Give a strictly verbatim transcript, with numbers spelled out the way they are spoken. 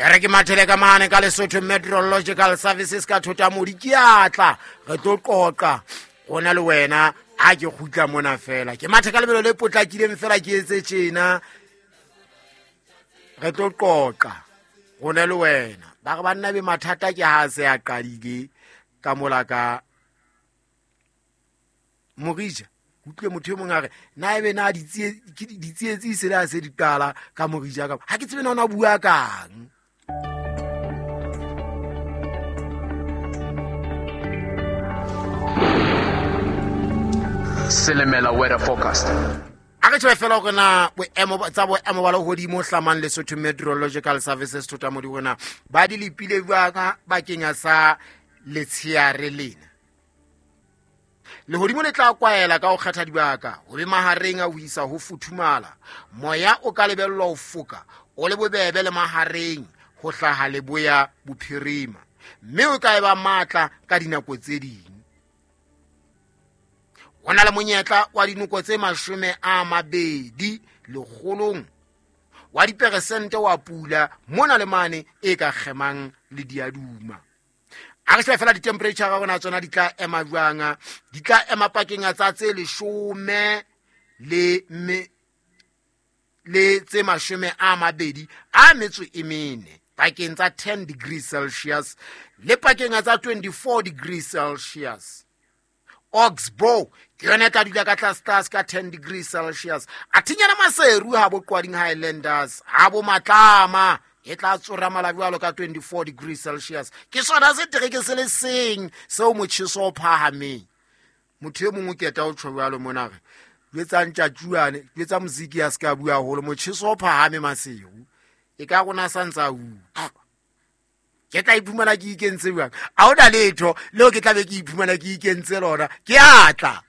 E re ke mathele ka mane ka Lesotho Meteorological Services ka Thotamodi, ke atla re tlo qoqa gona le wena a ke kgutla mona fela. Ke mathe ka lebelo le potlakileng fela ke etse tjena, re tlo qoqa gona le wena. Ba re banna be mathata ke ha se a qadile ka mola ka Morija. Utlwe motho e mong a re na ebe na ditsietsi se le a se di qala ka Morija ka ha ke tsebe na ona bua kang. Silimela weather forecast. A re tjhe fela hore na boemo tsa boemo ba lehodimo hlamang Lesotho Meteorological Services Thotamodi hona ba di lepile jwang bakeng sa letsheare lena. Lehodimo le tla kwaela ka ho kgetha dibaka ho be mahareng a ho isa ho futhumala. Moya o ka lebellwa ho foka o le bobebe le mahareng ho hlaha leboya bophirima, mme o ka eba matla ka dinako tse ding. Ho na le monyetla wa dinoko tse mashome a mabedi lekgolong wa diperesente wa pula mona le mane e ka kgemang le diaduma. A re shebe fela di-temperature ga rona tsona di tla ema jwang. Di tla ema pakeng tsa tse leshome le me le tse mashome a mabedi a metso e mene pakeng tsa ten degrees Celsius le pakeng tsa twenty-four degrees Celsius. Oxbow ke yona e tla dula ka tlase tlase ka ten degrees Celsius. A thinyana Maseru ha bo Qwading Highlanders ha bo Matlama e tla tsora mala jwalo ka twenty-four degrees Celsius. Ke sona se tereke se le seng seo motjheso o phahameng. Motho e mongwe ke eta o tjho jwalo mona re jwetsang tjatjuane, jwetsa moziki ya ska bua haholo, motjheso o phahame Maseru e ka rona sa ntsa utlwa. Ke tla iphumana ke ikentse jwang? A hona letho leo ke tla be ke iphumana ke ikentse lona. Ke atla.